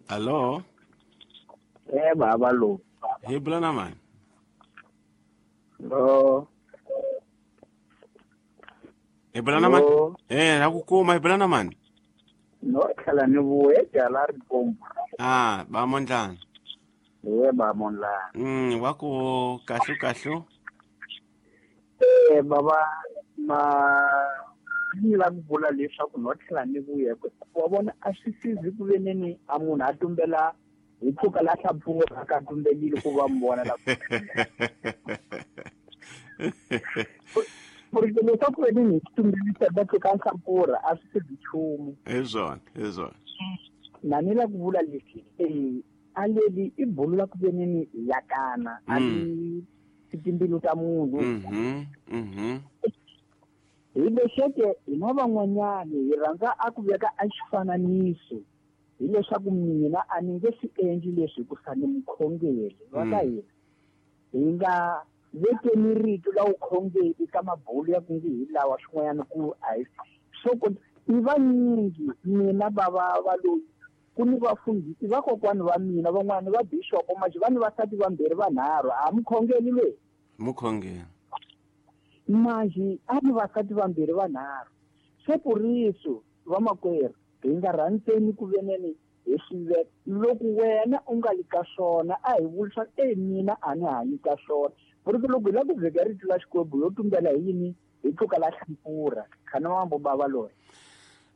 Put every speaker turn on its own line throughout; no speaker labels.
Allo?
Eh baba lo.
Hi bula na mani?
Lo.
Hi bula na mani? Eh, ra ku kuma hi bula na mani?
No tlhela ni vuye jala ri komba.
Ah, ba mondlana.
Eh ba mondlana.
Wa ku kahlu kahlu.
Eh baba ma ni la ku vula leswaku no tlhela ni vuye wa vona a swi sizi ku veneni a munhu a tumbela hi pfuka la hlapfurha ka tumbelile ku va mi vona la ku ri leswaku veneni hi tumbelisa va tluka nhlampfurha a swi sizi nchumu.
Hi swona, hi swona.
Na ni la ku vula leswi a leli i bulu la ku veneni yakana a li timbilu ta munhu. Hi lexeke hina van'wanyani hi rhandza a ku veka a xifananiso hileswaku mina a ni nge swi endli leswi hikusa ni mukhongeri wa ka hina. Hi nga vekeni rito la vukhongeri ka mabulu ya ku nge hi lawa swin'wanyana ku a hi swo ku i vanyingi mina bava va loyi ku ni vafundhisi vakokwani va mina van'wani va bixopo manje va ni vasati vambirhi vanharhu a mukhongeri loyi.
Mukhongeri.
Manje a ni vasati vambirhi vanharhu. Se puriso vamakwerhu hi nga rhandzeni ku veneni hi swi veka loko wena u nga li ka swona a hi vuli swa mina a ni hanyi ka swona. Puriso loko hi lava ku veka rito la Xikwembu yo tumbela hi yini hi tluka la hlampfurha khana mambo bava loyi.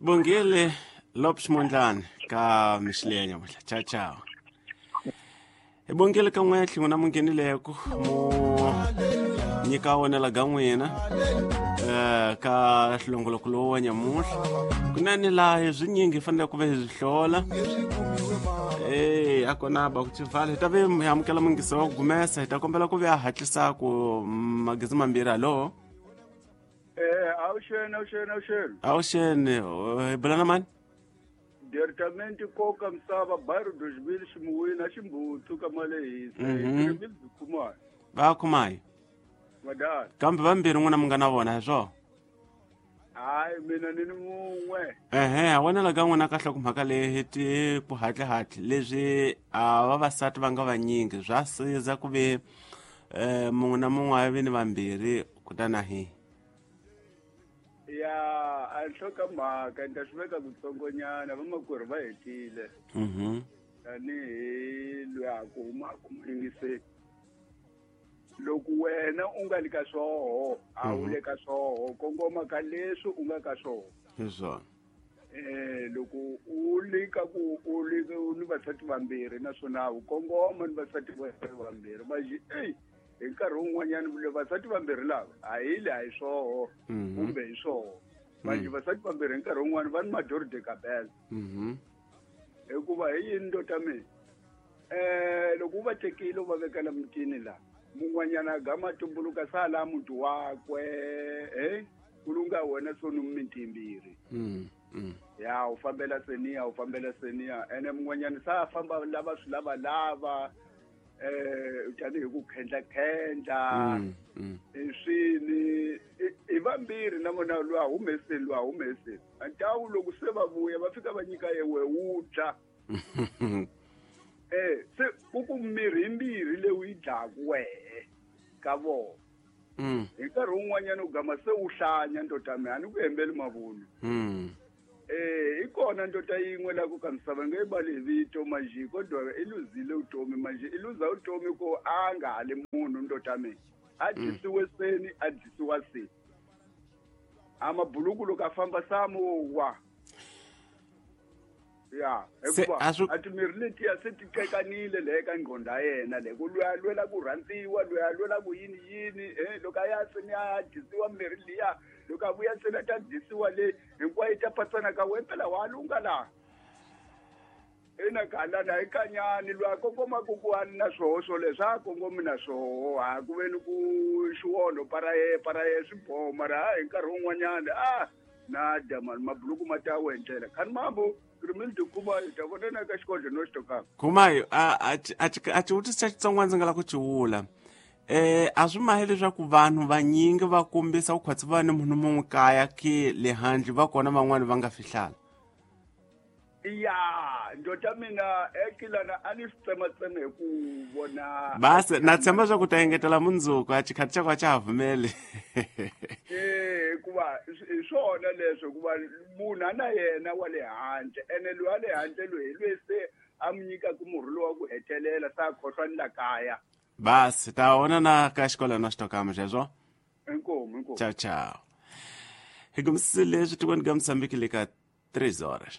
Bongile Lopes Mondlane ka Mixilenya muhla. Ciao ciao. Hi bongile ka n'we tlhingo na munghenileko mu nyika wonela ga n'wina ka hlongoloko lowu wa nyamuhla kunene laha hi swinyingi hi fanele ku va hi swi hlola a kona ba ku tsivala hi ta ve hi amukela mungisi wa ku gumesa hi ta kombela ku ve a hatlisa ku magezi mambirhi. Hallo?
Awuxeni, awuxeni, awuxeni.
Awuxeni, hi bula na mani?
Department koka misava bairro 2000 ximuwini a ximbuthu ka malehisa. Rimil Khumayo.
Va Khumayo.
Madala.
Kambe vambirhi n'wina mi nga na vona hi swona?
Hayi mina ni ni mun'we.
Ehe, wena la ka n'wina kahle ku mhaka leyi ti ku hatli leswi a vavasati va nga vanyingi swa siza ku ve mun'we na mun'we a vi ni vambirhi kutani a hi.
Ya a nhloko mhaka ni ta swi veka kutsongonyana vamakwerhu va hetile. Tanihi loyi a ku humaka muyingiseli. Loko wena u nga li ka swoho a wu le ka swoho kongoma ka leswi u nga ka swoho.
Hi swona.
Loko u li ka ku u li ni vasati vambirhi naswona u kongoma ni vasati vambirhi manje hi nkarhi wun'wanyana vule vasati vambirhi lava a hi le a hi swoho kumbe hi swoho manje vasati vambirhi hi nkarhi wun'wana va ni mador de cabeza. Hikuva hi yini ndota mina loko u va tekile u va vekela mutini la mun'wanyana gama tumbuluka sala muti wakwe ku lunga wena so ni miti yimbirhi. Ya u fambela seniya u fambela seniya ene mun'wanyana sa famba lava swi lava lava tanihi ku khendla khendla swini i vambirhi na vona lwa humeseni lwa humeseni antawu loko se va vuya va fika va nyika yewe wu dya. Se ku ku mirhi yimbirhi leyi u yi dlaku wehe ka vona. Hi nkarhi wun'wanyana u gama se u hlanya ndota mina a ni ku hembeli mavunwa. I kona ndota yin'we la ku ka misava nge bali hi vito manje kodwa i luzile vutomi manje i luza vutomi ku a nga ha li munhu ndota mina. A dyisiwe seni a dyisiwa seni. A mabuluku loko a famba samu wa. Ya, hikuva a timirhi letiya se ti qekanile le ka ngqondo ya yena le ku lweya lwela ku rhandziwa lweya lwela ku yini yini loko a ya seni a dyisiwa mirhi liya loko a vuya seni a ta dyisiwa le hinkwayo yi ta patsana ka wena phela wa lunga laha. Ina galana hi kanyani loyi a kongomaka ku a ni na swoho swoleswo a kongomi na swoho ha ku ve ni ku xiwonho paraye paraye swi boho mara ha hi nkarhi wun'wanyana a na dya mani mabuluku ma ta we ndlela khani mambo rimini tikuma hi ta vonana ka xikodlo no xitokaka.
Khumayo a xivutiso xa Xitsonga ndzi nga lava ku xi vula a swi mahi leswaku vanhu vanyingi va kombisa ku khwatsi va ni munhu mun'we kaya ke le handle va kona van'wani va nga fihlala.
Ya ndota mina ekilana a ni swi tsematseme hi ku vona.
Basi na tshemba swa ku ta engetela mundzuku a xikhathi xa ku a xa ha pfumeli.
Hikuva hi swona leswo, hikuva munhu a na yena wa le handle, ene loyi a le handle loyi hi loyi se a mi nyikaka murhi lowu wa ku hetelela, se a khohlwa ni la kaya.
Basi ta vona na ka xikolo na xitokama xexo.
Inkomu, inkomu.
Ciao ciao. Hi kumisile leswi tikweni ka Mozambique le ka 3 horas.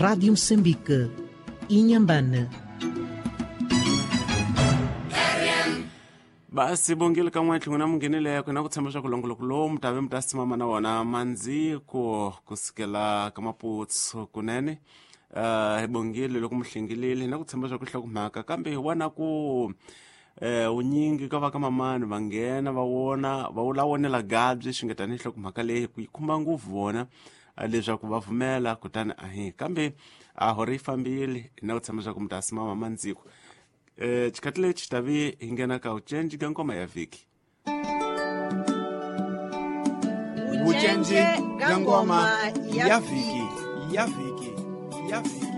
Rádio Moçambique, Inhambane.
Basi bongile ka n'we tlhelo na munghenile ku na ku tshemba swa ku longoloko lowu mi ta ve mi ta simama na wona mandziko kusukela ka maputsu kunene. Hi bongile loko mi hlengilile na ku tshemba swa ku hlokomhaka, kambe hi vona ku unyingi ka va ka mamani va nghena va vona va wula vonela gabyi swi nga tanihi hlokomhaka leyi ku yi khumba ngopfu vona leswaku va pfumela, kutani ahi kambe a hore yi fambile na ku tshemba swa ku mi ta simama mandziko. Xikhathi lexi tavi hi nghena ka vucenci ka ngoma ya vhiki.
Vucenci ka ngoma ya vhiki, ya vhiki, ya vhiki.